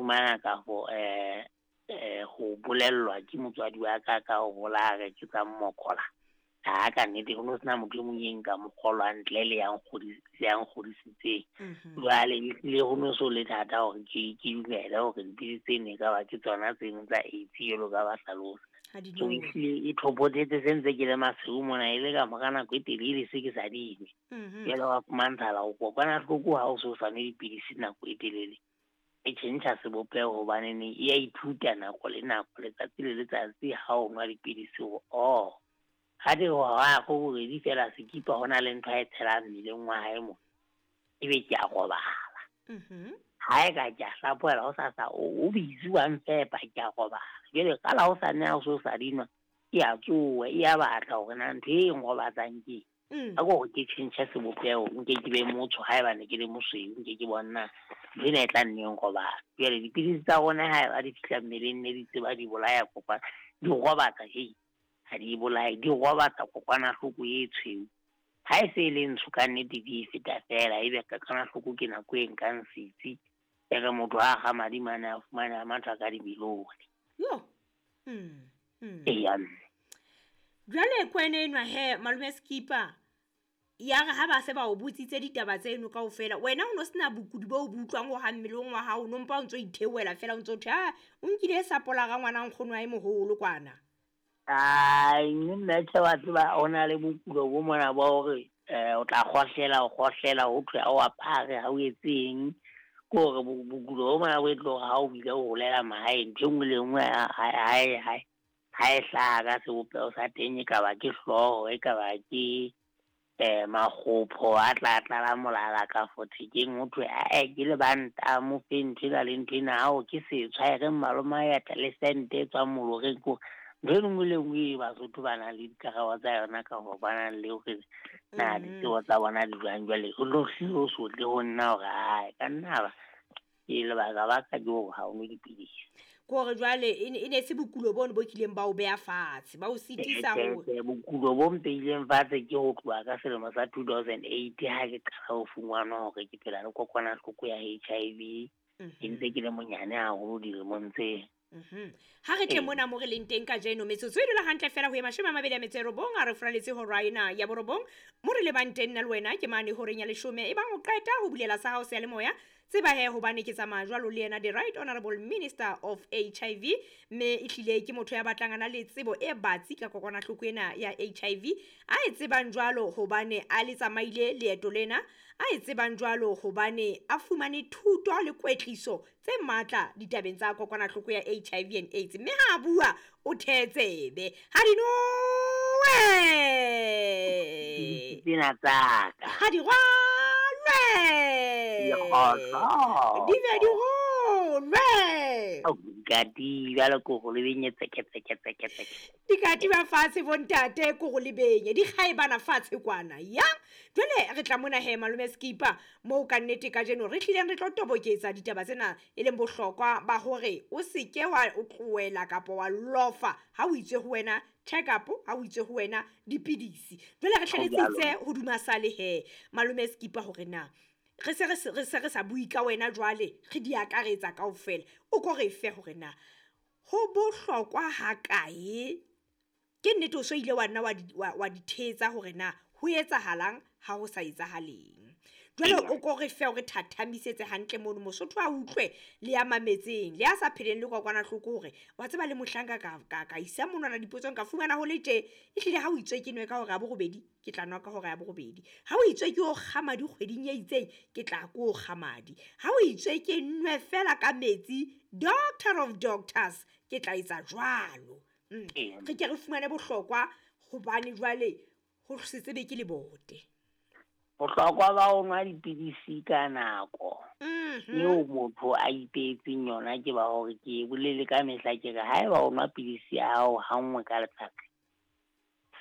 fumana kafo ho bolellwa ke motswadi wa ka ka ho hola re ke tsa mmokola. Ha ka nnete ho no sena motho e mong e nka mo kgolwa ntle le ya nkgodisitseng. Jwale ehlile ho no so le thata hore ke dumele hore dipidisi tseno e ka ba ke tsona tseno tsa AIDS jwalo ka ba hlalosa. So ehlile e thopothetse se ntse ke le masiu mona e le ka mora nako e telele se ke sa dinwe. Jwale wa fumantshala ho kokwanahloko ha o so sa nwe dipidisi nako e telele. E tjhentjha sebopeho hobane ne e ya ithuta nako le nako letsatsi le letsatsi ha o nwa dipidisi hore oh ha di hora go bobedi fela Sekipa ho na le ntho a e tshelang mmeleng wa hae mo ebe ke a robala. Ha e ka ke a hlaphohela ho sasa o busy wa mfepa ke a robala. Jwale ka la hosane ha o so sa dinwa e a tsoha e a batla hore na ntho e nrobatsang ke eng. A ko hore ke tjhentjhe sebopeho nke ke be motsho haeba ne ke le mosweu nke ke bona ntho ena e tla nne e nrobatsa. Jwale dipidisi tsa rona haeba di fihla mmeleng ne di tseba di bolaya kokwana di robatsa hei. Ha di bolaye di robatsa kokwanahloko e tshweu. Ha e se e le ntsho ka nnete di e feta fela ebe kokwanahloko ke nako e nkang setsi. E re motho ha kga madi mane a fumane a matha ka dibilone. Yo. Eya mme. Jwale kwene enwa he malome Sekipa ya re ha ba se ba o botsitse ditaba tseno kaofela wena o no sena bokudi bo bo utlwang ho ha mmeleng wa hao no mpa o ntso itheoela fela o ntso thwe ha o nkile sapola ga ngwana nkgono wa e moholo kwana. Ai nna tjhe wa tseba o na le bokulo bo mona ba hore o tla kgohlela o kgohlela ho thwe ha o apare ha o etseng. Ke hore bokulo bo mona bo e tlo hore ha o bile o holela mahaeng ntho e nngwe le nngwe ha e hlaha ka sebopeho sa teng e ka ba ke hlooho e ka ba ke makgopho a tla tlala molala ka fo thekeng ho thwe ae ke lebanta mo fe ntho ena le ntho ena hao ke setshwa e re malome a eta le sente e tswang moloreng ko ntho e nngwe le nngwe e Basotho ba nang le dikarabo tsa yona ka hore ba nang le hore na ditsebo tsa bona di jwang. Jwale ho no hlile ho sotle ho nna hore ae ka nna ba ke lebaka ba ka ke hore ha o nwe dipidisi. Ke hore jwale e ne se bokulo bono bo kileng ba o beha fatshe ba o sitisa ho Bokulo bo mpeileng fatshe ke ho tloha ka selemo sa 2008 ha ke qala ho fumana hore ke phela le kokwanahloko ya HIV. Ke ntse ke le monyane haholo dilemong tse. Ha re tle mona mo re leng teng kajeno metsotso e dula hantle fela ho ye 29 a re furaletse hora ena ya borobong mo re lebang teng nna le wena ke mane horeng ya 10 e bang o qeta ho bulela sa hao seyalemoya tseba he hobane ke tsamaya jwalo le yena the right honorable minister of HIV mme ehlile ke motho ya batlang ana le tsebo e batsi ka kokwanahloko ena ya HIV a e tsebang jwalo hobane a le tsamaile leeto lena a e tsebang jwalo hobane a fumane thuto le kwetliso tse matla ditabeng tsa kokwanahloko ya HIV and AIDS mme ha bua o thetsebe ha di nowe tsena tsaka ha di rwalwe di be di rolwe dikati jwalo ko go le benye tseke tseke tseke tseke dikati ba fatshe bontate ko go le benye di kgaebana fatshe kwana ya jwale re tla mona he malome Sekipa moo ka nnete kajeno re tlileng re tlo toboketsa ditaba tsena e leng bohlokwa ba hore o seke wa o tlohela kapa wa lofa ha o itse ho wena check up ha o itse ho wena dipidisi jwale re hlaletsitse hoduma sale he malome Sekipa hore na re se re sa bui ka wena jwale re di akaretsa kaofela o ko re fe hore na ho bohlokwa ha kae ke nnete o so ile wa nna wa di thetsa hore na ho etsahalang ha ho sa etsahaleng jwale o ko re fe hore thathamisetse hantle mono Mosotho a utlwe le ya mametseng le ya sa pheleng le kokwanahloko hore wa tseba le mohlanka ka isa monwana dipotsong ka fumana ho le tje ehlile ha o itswe ke nwe ka hore ya borobedi ke tla nwa ka hora ya borobedi ha o itswe ke o kga madi kgweding e itseng ke tla ko kga madi ha o itswe ke nwe fela ka metsi doctor of doctors ke tla etsa jwalo. Re ke re fumane bohlokwa hobane jwale ho se tsebe ke lebote bohlokwa ba ho nwa dipidisi ka nako eo motho a ipehetseng yona ke ba hore ke bolele ka mehla ke re haeba o nwa pidisi ya hao ha nngwe ka letsatsi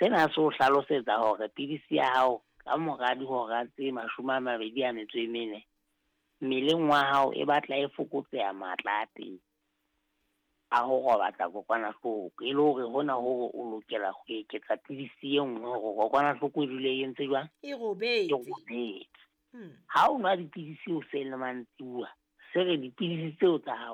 sena se o hlalosetsa hore pidisi ya hao ka mora dihora tse 24 mmeleng wa hao e batla e fokotseha matla a teng a ho robatsa kokwanahloko e le hore hona hore o lokela ho eketsa pidisi e nngwe hore kokwanahloko e dule e entse jwang e robetse. Ha o nwa dipidisi hoseng le mantsibuya se re dipidisi tseo tsa hao